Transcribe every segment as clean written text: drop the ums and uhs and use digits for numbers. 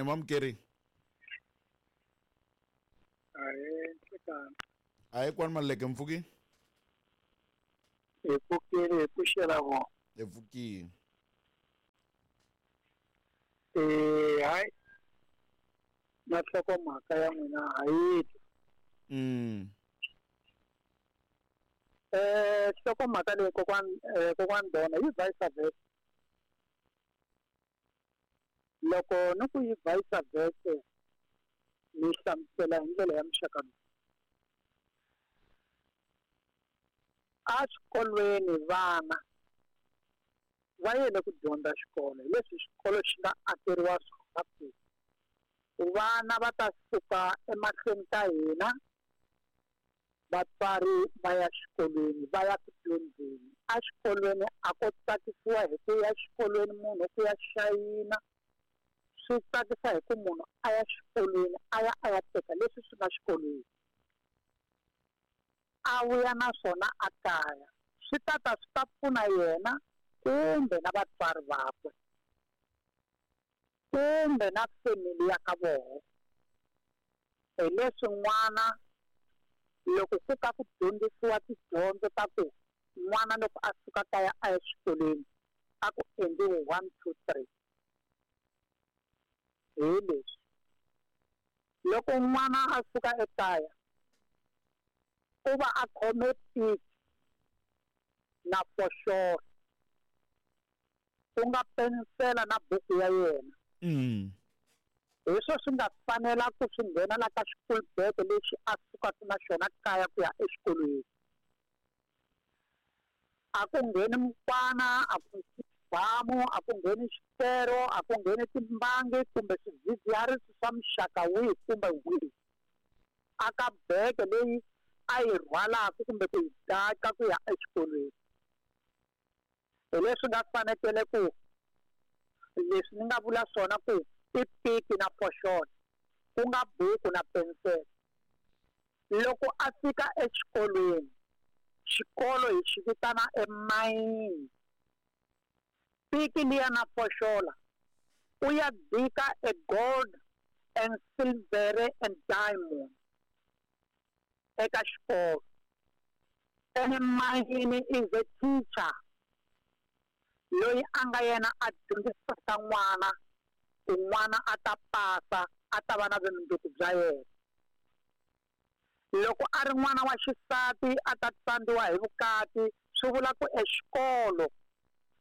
Ni mamukeri. Ahee, nhlikani. Ahee, kwani Maluleke, mpfuki? Hi pfukile, hi pfuxela vona. Hi pfukile. Hayi, na nhlokomhaka ya n'wina ha yi twa. Nhlokomhaka leyi kokwani Dona yi vice versa. Loko ni ku yi vice versa, ni hlamusela hi ndlela ya muxaka lowu. A xikolweni vana va yele ku dyondza xikolo, hi leswi xikolo xi nga akeriwa swona ku vana va ta suka emahlweni ka hina, vatswari va ya xikolweni, va ya ku dyondzeni. A xikolweni a ko tsakisiwa hi ku ya xikolweni munhu ku ya xayina, swi tsakisa hi ku munhu a ya xikolweni a ya a ya teka leswi swi nga xikolweni, a vuya na swona a kaya. Swi ta ta swi ta pfuna yena kumbe na vatswari vakwe kumbe na family ya ka vona. Hi leswi n'wana loko ku ka ku dyondzisiwa tidyondzo ta ku n'wana loko a suka kaya a ya xikolweni a ku endliwi 1 2 3. Hi leswi loko n'wana a suka ekaya u va a khome piki na foxolo, ku nga pensela na buku ya yena. Hi swo swi nga fanela ku swi nghena la ka school bag lexi a sukaka na xona kaya ku ya exikolweni. A ku ngheni mukwana, a ku ngheni xibamu, a ku ngheni xikero, a ku ngheni timbangi kumbe swidzidziharisi swa muxaka wihi kumbe wihi. A ka bege leyi a yi rhwalaka kumbe ku yi daka ku ya exikolweni. Hi leswi nga fanekele ku leswi ni nga vula swona ku i piki na foxolo, ku nga buku na pensele. Loko a fika exikolweni, xikolo hi xi vitana emayini. Piki liya na foxola u ya dika e gold and silver and diamond eka xikolo. Ene mayini is a teacher loyi a nga yena a dyondzisaka n'wana ku n'wana a ta pasa, a ta va na vumundzuku bya yena. Loko a ri n'wana wa xisati a ta tsandziwa hi vukati, swi vula ku exikolo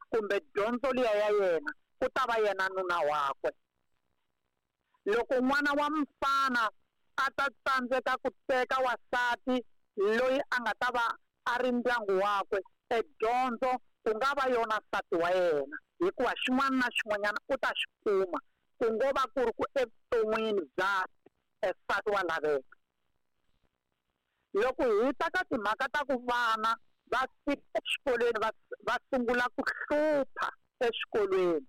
kumbe dyondzo liya ya yena ku ta va yena nuna wakwe. Loko n'wana wa mfana a ta tsandzeka ku teka wansati loyi a nga ta va a ri ndyangu wakwe, e dyondzo ku nga va yona nsati wa yena, hikuva xin'wana na xin'wanyana u ta xi kuma, ku ngo va ku ri ku evuton'wini bya nsati wa laveka. Loko hi ta ka timhaka ta ku vana va fika exikolweni va sungula ku hlupha exikolweni,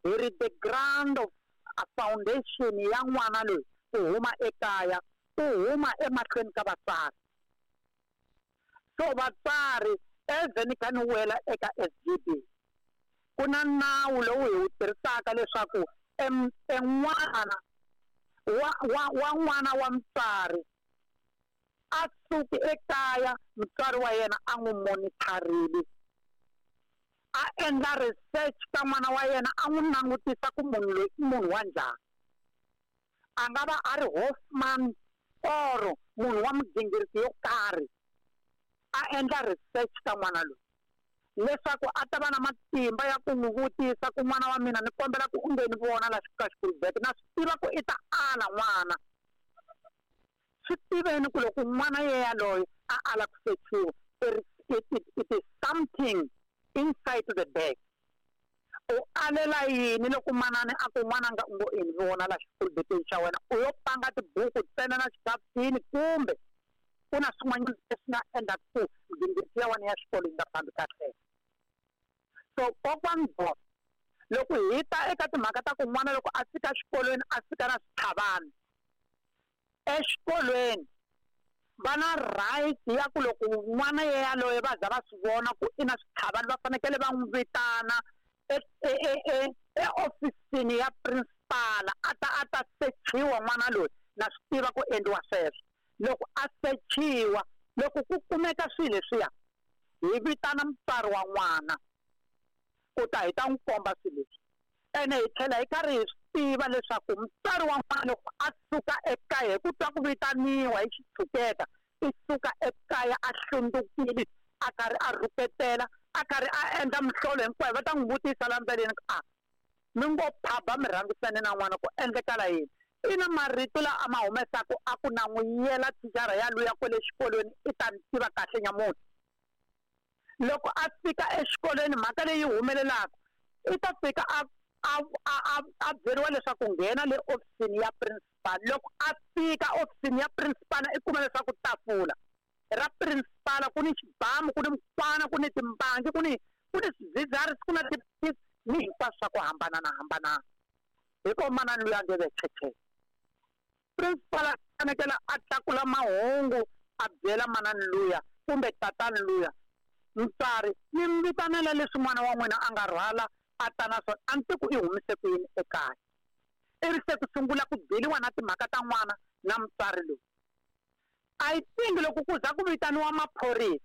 hi ri the ground of a foundation ya n'wana loyi ku huma ekaya, u huma emahlweni ka vatswari. So vatswari as ni kha ni wela eka SGB, ku na nawu lowu hi wu tirhisaka leswaku en'wana wa n'wana wa mutswari a suki ekaya, mutswari wa yena a n'wi monitharile, a endla research ka n'wana wa yena, a n'wi langutisa ku munhu loyi i munhu wa njhani. A nga va a ri Hoffman or munhu wa migingiriko yo karhi, a endla research ka n'wana loyi leswaku a ta va na matimba ya ku n'wi vutisa ku n'wana wa mina ni kombela ku u nge ni vona la ka school bag, na swi tiva ku i ta ala n'wana. Swi tiveni ku loko n'wana yeyaloye a ala ku sechiwa, it is something inside the bag. U alela yini loko manani a ku n'wananga u ngo i ni vona la xikulubeteni xa wena, u yo panga tibuku ntsena na xikafini kumbe ku na swin'wanyana leswi nga endlaka ku migingiriko ya wena ya xikolo yi nga fambi kahle. So kokwani Boss, loko hi ta eka timhaka ta ku n'wana loko a fika exikolweni a fika na switlhavana, exikolweni va na right ya ku loko n'wana yeyaloye va za va swi vona ku i na switlhavana, va fanekele va n'wi vitana eofisini ya principal. principal a ta a ta sechiwa n'wana loyi na swi tiva ku endliwa sweswo loko a sechiwa loko ku kumeka swilo leswiya hi vitana mutswari wa n'wana ku ta hi ta n'wi komba swilo leswi ene hi tlhela hi karhi hi swi tiva leswaku mutswari wa n'wana loko a suka ekaya hi ku twa ku vitaniwa hi xitshuketa i suka ekaya a hlundzukile a karhi a rhuketela a karhi a endla mihlolo hinkwayo va ta n'wi vutisa la ndleleni ku a mi ngo phaba mi rhangisane na n'wana ku endlekala yini i na marito la a ma humesaku a ku na n'wi yela thicara ya luya kwele xikolweni i ta ni tiva kahle nyamuntlha loko a fika exikolweni mhaka leyi humelelaka i ta fika a a a a byeriwa leswaku nghena le ofisini ya principal loko a fika ofisini ya principal i kuma leswaku tafula ra principal ku ni xibamu ku ni mukwana ku ni timbangi ku ni ku ni swidzidziharisi ku na tiphilisi ni hinkwaswo swa ku hambanana hambanana hi ko manani luya nge ve cheche principal a fanekele a tlakula mahungu a byela manani luya kumbe tatani luya mutswari mi mi vitanela leswi n'wana wa n'wina a nga rhwala a ta na swona a ni tiku i humise ku yini ekaya ivi se ku sungula ku byeliwa na timhaka ta n'wana na mutswari loyi I think loko ku za ku vitaniwa maphorisa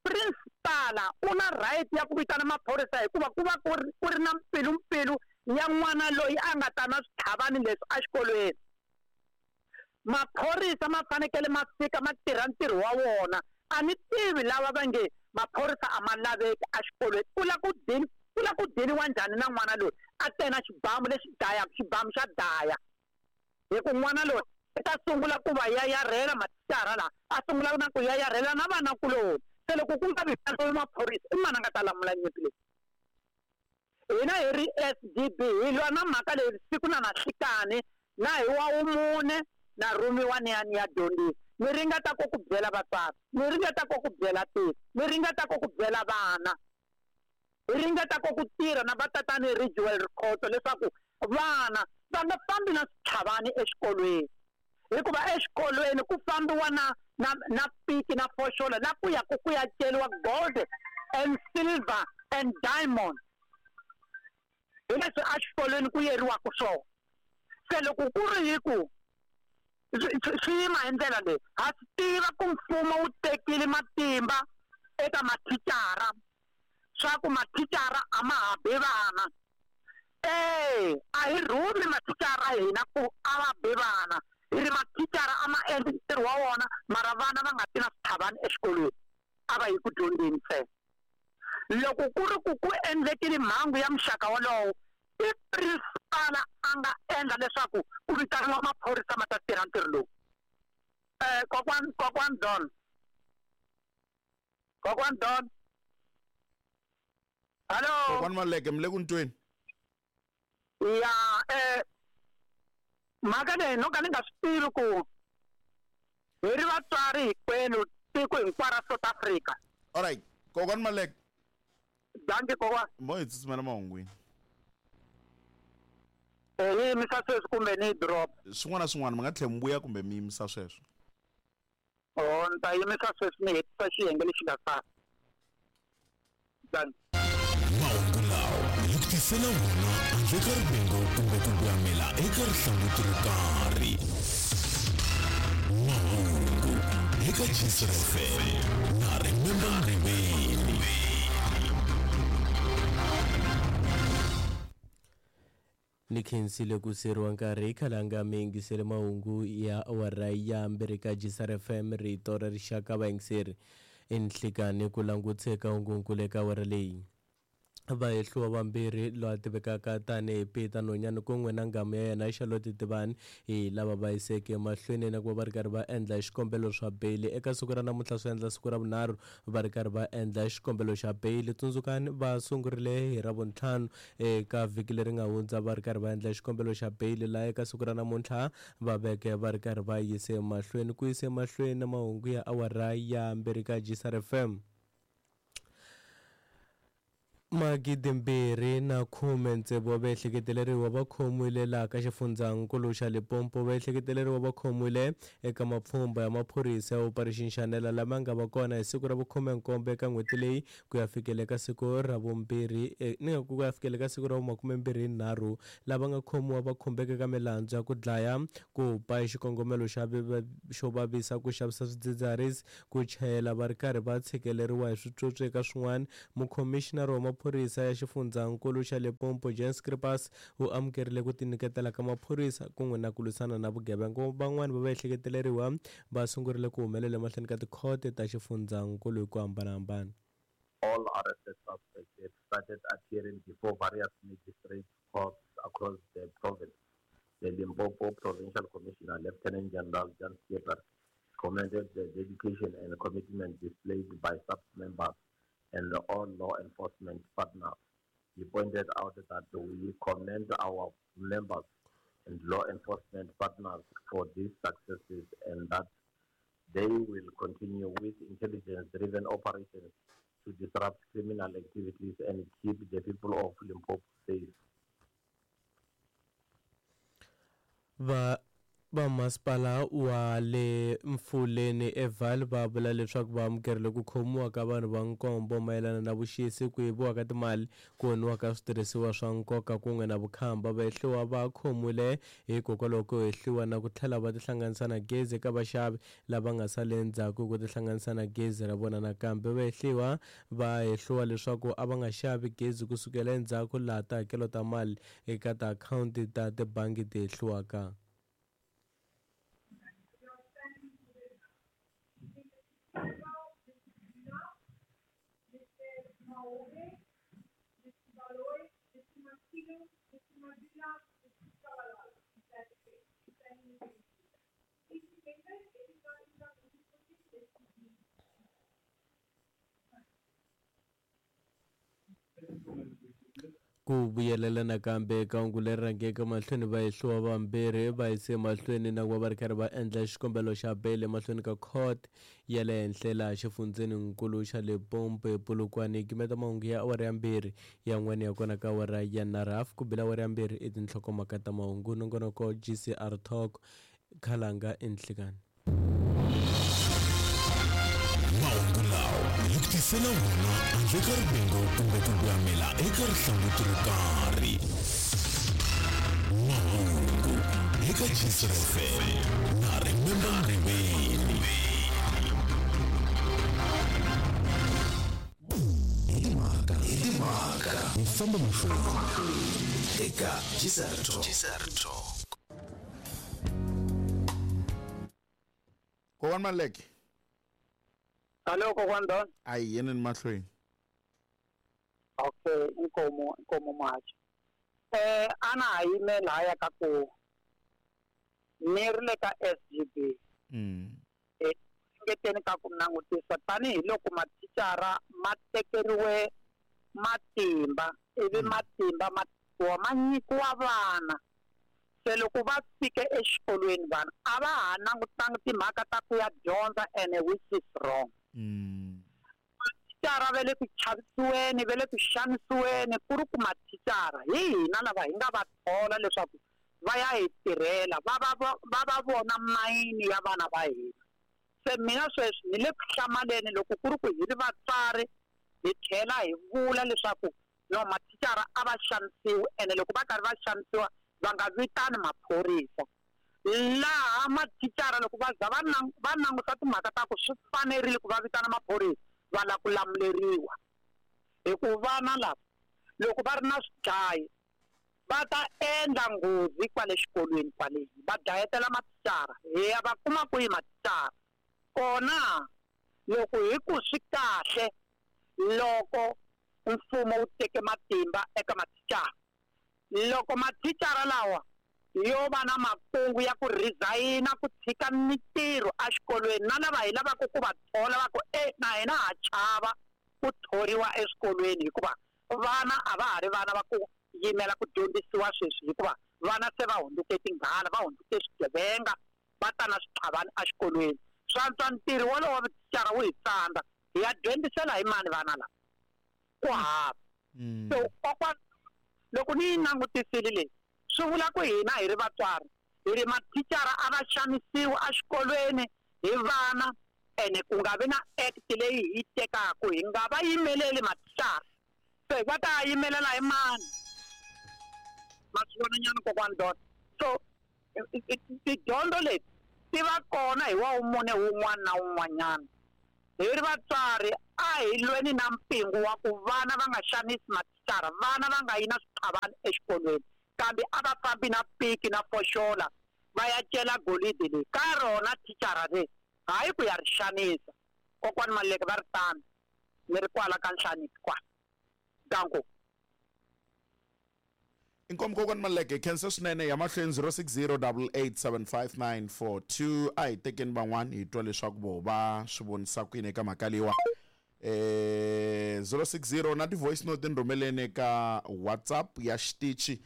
principal u na right ya ku vitana maphorisa hikuva ku va ku ri ku ri na mpfilumpfilu ya n'wana loyi a nga ta na switlhavani leswi exikolweni maphorisa ma fanekele ma fika ma tirha ntirho wa wona a ni tivi lava va nge maphorisa a ma laveki exikolweni ku la ku dini ku la ku diniwa njhani na n'wana loyi a te na xibamu lexi dlayaka xibamu xa dlaya hi ku n'wana loyi i ta sungula ku va yayarhela mathicara laha a sungula na ku yayarhela na vanakuloni se loko ku nga vitaniwi maphorisa i mani a nga ta lamula nyimpi leyi hina hi ri S_D_B hi lwa na mhaka leyi siku na na nhlikani na hi wa wumune na rhumiwa ni ya ni ya dyondzisa ni ringeta ku ku byela vatswari ni ringeta ku ku byela tiko ni ringeta ku ku byela vana hi ringeta ku ku tirha na vatatani Ridgewell Rikhotso leswaku vana va nga fambi na switlhavani exikolweni hikuva exikolweni ku fambiwa na na na piki na foxolo la ku ya ku ku ya ceriwa gold and silver and diamond hi leswi exikolweni ku yeriwaka swona se loko ku ri hi ku swi yima hi ndlela leyi ha swi tiva ku mfumo wu tekile matimba eka mathicara swa ku mathicara a ma ha bi vana e a hi rhumi mathicara hina ku a va bi vana hi ri mathicara a ma endli ntirho wa wona mara vana va nga ti na switlhavani exikolweni a va yi ku dyondzeni ntsena loko ku ri ku ku endlekile mhangu ya muxaka wolowo i principal a nga endla leswaku ku vitaniwa maphorisa ma ta tirha ntirho lowu um kokwan kokwan Don kokwan Don hallo Kokwani Maleke mi le ku ni tweni ya mhaka leyi no ka ni nga swi tivi ku hi ri vatswari hinkwenu tiko hinkwaro ra South Africa alright kokwani Maleke danki kokwana mo hi tsutsumela mahungwini ni yimisa sweswi kumbe ni yi drop swin'wana na swin'wana mi nga tlhela mi vuya kumbe mi yimisa sweswo o ni ta yimisa sweswi ni hetisa xiyenge lexi nga sala danki mahungu lawa hi ku tisela wona handle ka rivengo kumbe ku gwamela eka rihlanguti ro karhi mahungu eka Jisr FM na Remember Mriveni Ni khensile ku siyeriwa nkarhi khalanga mi yingisele mahungu ya awara ya mbirhi ka Jisar FM rito ra rixaka vayingiseri i nhlikani ku langutse ka hungunkulu eka awara leyi vahehliwa vambirhi loyi a tivekaka tanihi Peter Nonyane kun'we na nghamu ya yena Charlotte Tivani hi lava va yiseke mahlweni na ku va va ri karhi va endla xikombelo swa beyili eka siku ra namuntlha swi endla siku ra vunharhu va ri karhi va endla xikombelo xa beyili tsundzukani va sungurile hi ravuntlhanu eka vhiki leri nga hundza va ri karhi va endla xikombelo xa beyili laha eka siku ra namuntlha va veke va ri karhi va yise mahlweni ku yise mahlweni na mahungu ya awara ya mbirhi ka Jisar FM. 2016 wa vaehleketeleriwa va khomiwile laha ka xifundzankulu xa Limpopo. Vaehleketeleriwa va khomiwile eka mapfhumba ya maphorisa ya Operation Shanela lama nga va kona hi siku ra vukhume-nkombo eka n'hweti leyi ku ya fikela eka siku ra vumbirhi ni nga ku ya fikela eka siku ra vumakumembirhi-nharhu. Lava nga khomiwa va khumbeka eka milandzu ya ku dlaya, ku ba hi xikongomelo xa xo vavisa, ku xavisa swidzidziharisi, ku chayela va ri karhi va tshikeleriwa hi switswotswi eka swin'wana. Mukhomixinara wa maphorisa ya xifundzankulu xa Limpopo Jan Schippers u amukerile ku tinyiketela ka maphorisa kun'we na ku lwisana na vugevenga. Van'wani va vaehleketeleriwa va sungurile ku humelela emahlweni ka tikhote ta xifundzankulu hi ku hambanahambana. All arrested suspects have started appearing before various magistrate courts across the province. The Limpopo Provincial Commissioner, Lieutenant General Jan Schippers, commended the dedication and commitment displayed by SAPS members and all law enforcement partners. He pointed out that we commend our members and law enforcement partners for these successes and that they will continue with intelligence-driven operations to disrupt criminal activities and keep the people of Limpopo safe. Va vamasipala wa le Mfuleni eVaal va vula leswaku va amukerile ku khomiwa ka vanhu va nkombo mayelana na vuxisi, ku yiviwa ka timali, ku onhiwa ka switirhisiwa swa nkoka kun'we na vukhamba. Vahehliwa va khomiwile hikokwalaho ko hehliwa na ku tlhela va tihlanganisa na gezi eka vaxavi lava nga sali endzhaku ku tihlanganisa na gezi ra vona. Nakambe vahehliwa va hehliwa leswaku a va nga xavi gezi kusukela endzhaku laha tihakelo ta mali eka tiakhawunti ta tibangi ti hehliwaka. Ku vuyelela nakambe eka hungu leri rhangeke mahlweni, vahehliwa vambirhi va yise mahlweni na ku va va ri karhi va endla xikombelo xa beyili emahlweni ka court ya le henhla laha xifundzeninkulu xa Limpopo ePolokwane. Gimeta mahungu ya awara ya 2 yan'wana ya kona ka awara ya 9 ku bila awara ya 2 i tinhlokomhaka ta mahungu. Nongonoko GCR Talk Khalanga enhlikani. Mahungu lawa hi ku tisela wona handle ka rivengo kumbe ku gwamela eka rihlanguti ro karhi. Mahungu eka GCR FM na Remember Ngoveni. Hi timhaka hi famba mahlweni eka GCR Talk. Kokwani Maleke. Hello, Kokwani Don. A hi yeneni mahlweni. Okay, inkomo machi. Ana ha yime lahaya ka ku ni ri le ka SGB. Ngeteni ka ku langutisa tanihiloko mathicara ma tekeriwe matimba ivi matimba ma ma nyikiwa vana. Se loko va fike exikolweni vana a va ha langutanga timhaka ta ku ya dyondza and which is wrong. Mathicara va le ku chavisiweni, va le ku xanisiweni, ku ri ku mathicara hi hina lava hi nga va thola leswaku va ya hi tirhela, va va vona mayini ya vana va hina. Se mina sweswi ni le ku hlamaleni loko ku ri ku hi ri vatswari hi tlhela hi vula leswaku no mathicara a va xanisiwi ene loko va karhi va xanisiwa va nga vitani maphorisa. Laha mathicara loko va za va languta timhaka ta ku swi fanerile ku va vitana maphorisa va lava ku lamuleriwa. Hikuva vana lava loko va ri na swidlayi va ta endla nghozi kwale xikolweni kwale va dlayetela mathicara, hi ya va kuma kwihi mathicara kona. Loko hi ku swi kahle loko mfumo wu teke matimba eka mathicara, loko mathicara lawa yo va na makungu ya ku resign-a ku tshika mitirho exikolweni na lava hi lavaka ku va thola va ku na hina ha chava ku thoriwa eswikolweni hikuva vana a va ha ri vana va ku yimela ku dyondzisiwa sweswi, hikuva vana se va hundzuke tinghala, va hundzuke swigevenga, va ta na switlhavani exikolweni. Swantswa ntirho wolowo wa mathicara wu hi tsandza, hi ya dyondzisela hi mani vana lava? Ku hava. So kokwana loko ni yi langutisile leyi swi vula ku hina hi ri vatswari hi ri mathicara a va xanisiwi exikolweni hi vana ene ku nga vi na act leyi hi yi tekaku hi nga va yimeleli mathicara se va ta yimelela hi mani ma swi vona nyana kokwani dot so tidyondzo leti ti va kona hi wa wumune wun'wana na wun'wanyana hi ri vatswari a hi lweni na mpingu wa ku vana va nga xanisi mathicara vana va nga yi na switlhavani exikolweni kambe a va fambi na piki na foxola va ya cela golidi leyi ka rona thicara leyi hayi ku ya ri xanisa kokwani Maluleke va ri tano ni ri kwala ka Nhlaniki kwala danko. Inkomu kokwani Maluleke khensa swinene ya mahlweni 0608875942 a hi tekeni van'wani hi twa leswaku vo va swi vonisa ku yini eka mhaka leyiwa 060 na ti-voice note ni rhumeleni eka WhatsApp ya xitichi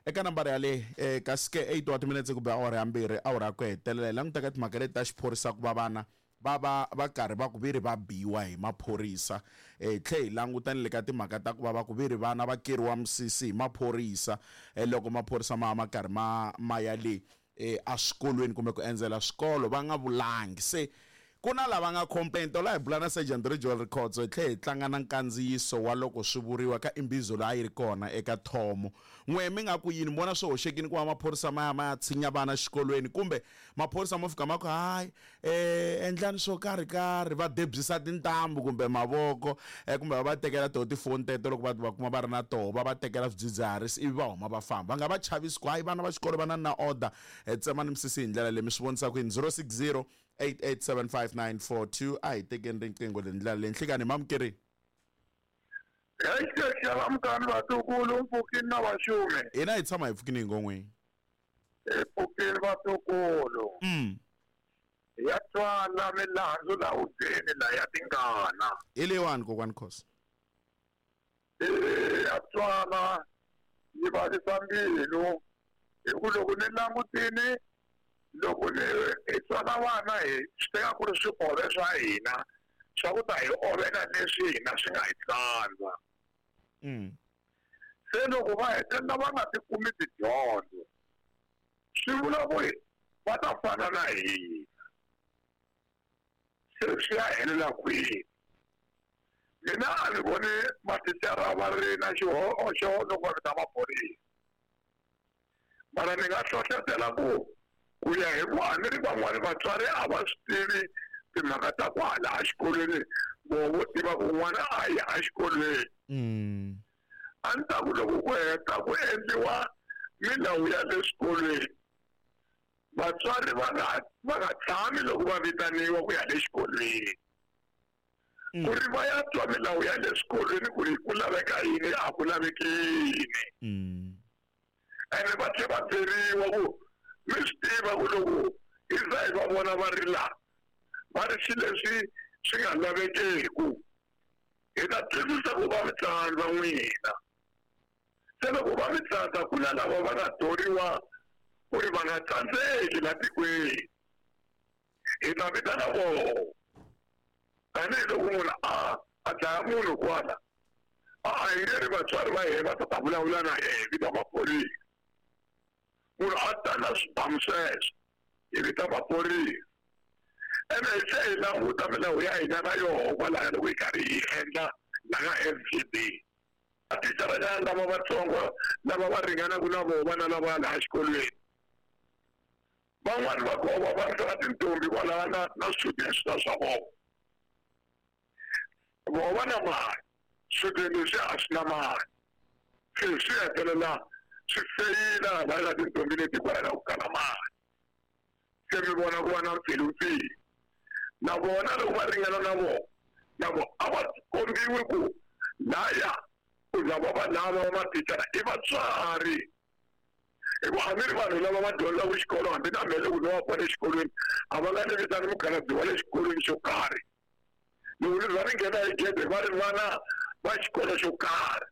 eka nambara yale kasi ke 8 wa timinetse ku be awara ya mbirhi awara ya ku hetelela hi languta ka timhaka leti ta xiphorisa ku va vana va va va karhi va ku veri va biwa hi maphorisa hi tlhe hi languta ni le ka timhaka ta ku va va ku veri vana va keriwa misisi hi maphorisa loko maphorisa ma ma karhi ma ma ya le eswikolweni kumbe ku endzela swikolo va nga vulangi se ku na lava nga complaint la hi bula na Sergeant Rijol Rikhotso hi tlhe hi tlanga na nkandziyiso wa loko swi vuriwa ka imbizo laha yi ri kona eka thomo n'we mi nga ku yini mi vona swi hoxekile ku va maphorisa ma ya ma ya tshinya vana xikolweni kumbe maphorisa mo fika ma ku hayi endlani swo karhi karhi va debyisa tintambu kumbe mavoko kumbe va va tekela toho tifoni teto loko va va kuma va ri na toho va va tekela swidzidziharisi ivi va huma va famba va nga va chavisi ku hayi vana va xikolo va na na order tsemani misisi hi ndlela leyi mi swi vonisa ku yini 060 8875942 a hi tekeni riqingho le ndlela leyi nhlikani hi mamukerini Xalamukani vatukulu mpfukini na vaxumi hina hi tshama hi pfukini hi ngon'weni hi pfukini vatukulu ya twala milandzu la hubyeni la ya tingana hi leyiwani kokwani Khosa ya twala yi vavisa mbilu hi ku loko ni langutini loko ni hi tswala vana hi swi teka ku ri swiove swa hina swa ku ta hi ovela leswi hina swi nga hi tsandza se loko va hetelela va nga ti kumi tidyondzo swi vula ku va ta fana na hina se swi ya helela kwini mina a ni voni mathicara va ri na xihoxo loko va vita maphorisa mara ni nga hlohlotela ku ku ya hi ku a ni ri van'wani vatswari a va swi tivi timhaka ta kwala exikolweni vo vo tiva ku n'wana a ya exikolweni a ni ta ku loko ku heta ku endliwa milawu ya le swikolweni vatswari va nga tshami loko va vitaniwa ku ya le xikolweni ku ri va ya twa milawu ya le swikolweni ku ri ku laveka yini a ku laveki yini ene va tlhe va byeriwa ku mi swi tiva ku loko hi za hi va vona va ri laha va ri swilo leswi swi nga lavekeku hi ta twisisa ku va mi tsandza n'wina se loko va mi tsandza ku na lava va nga thoriwa ku ri va nga tsandzeki la tikweni hi ta vitana vona tanihiloko munhu a dlaya munhu kwala a hi nge ri vatswari va yena va ta ta vulavula na yena hi vita maphorisa munhu a ta na swibamu sweswo hi vita maphorisa ene hi tlhe hi languta milawu ya hina na yoho kwalaya loko hi karhi hi endla la ka F_G_B mathicara lava vatsongo lava va ringanaka na voho vana lava laha xikolweni van'wani va kova va ri na tintombi kwalaya na na swichudeni swa swa vona voho va na mali swichudeni leswi a swi na mali se swi hetelela swi feyila hala ka tintombi leti kwalaya ku kala mali se mi vona ku va na mpfilumpfilu na vona loko va ringana na vona na vona a va kombiwi ku laya ku lava va lava va mathicara i vatswari hikuva hambi ri vanhu lava va dyondzaka xikolo hambi na mehe loko no va kona exikolweni a va nga ni vitani mukhalabye wa le xikolweni xo karhi loko ni za ni nghena hi gede va ri vana va xikolo xo karhi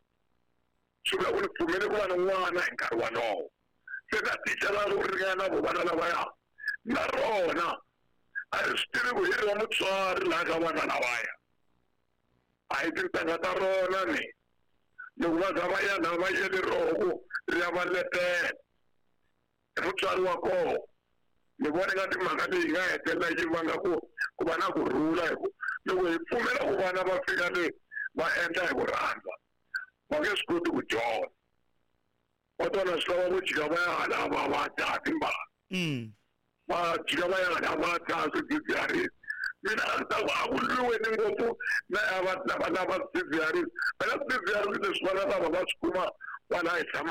swi vula ku ni pfumele ku va na n'wana hi nkarhi walowo se na thicara loko ringana na vo vana lavaya na rona a ri swi tivi ku hi ri wa mutswari laha ka vana lavaya a hi tintangha ta rona ni Loko va za va ya laha va yele roho ku ri ya va letela i mutswari wa kona. Ni vona nga timhaka leyi nga hetelela yi vanga ku ku va na kurhula, hi ku loko hi pfumela ku vana va fika le va endla hi ku rhandza, va nge swi koti ku dyondza. Va tona swi lava ku jika va ya hala va va dzaha timbala, va jika va ya hala va dzaha swidzidziharisi. Mina a ndzi ta ku a ku lwiweni ngopfu na lava lava lava swidzidziharisi. Phela swidzidziharisi leswi vana lava va swi kuma kwala hi tshama.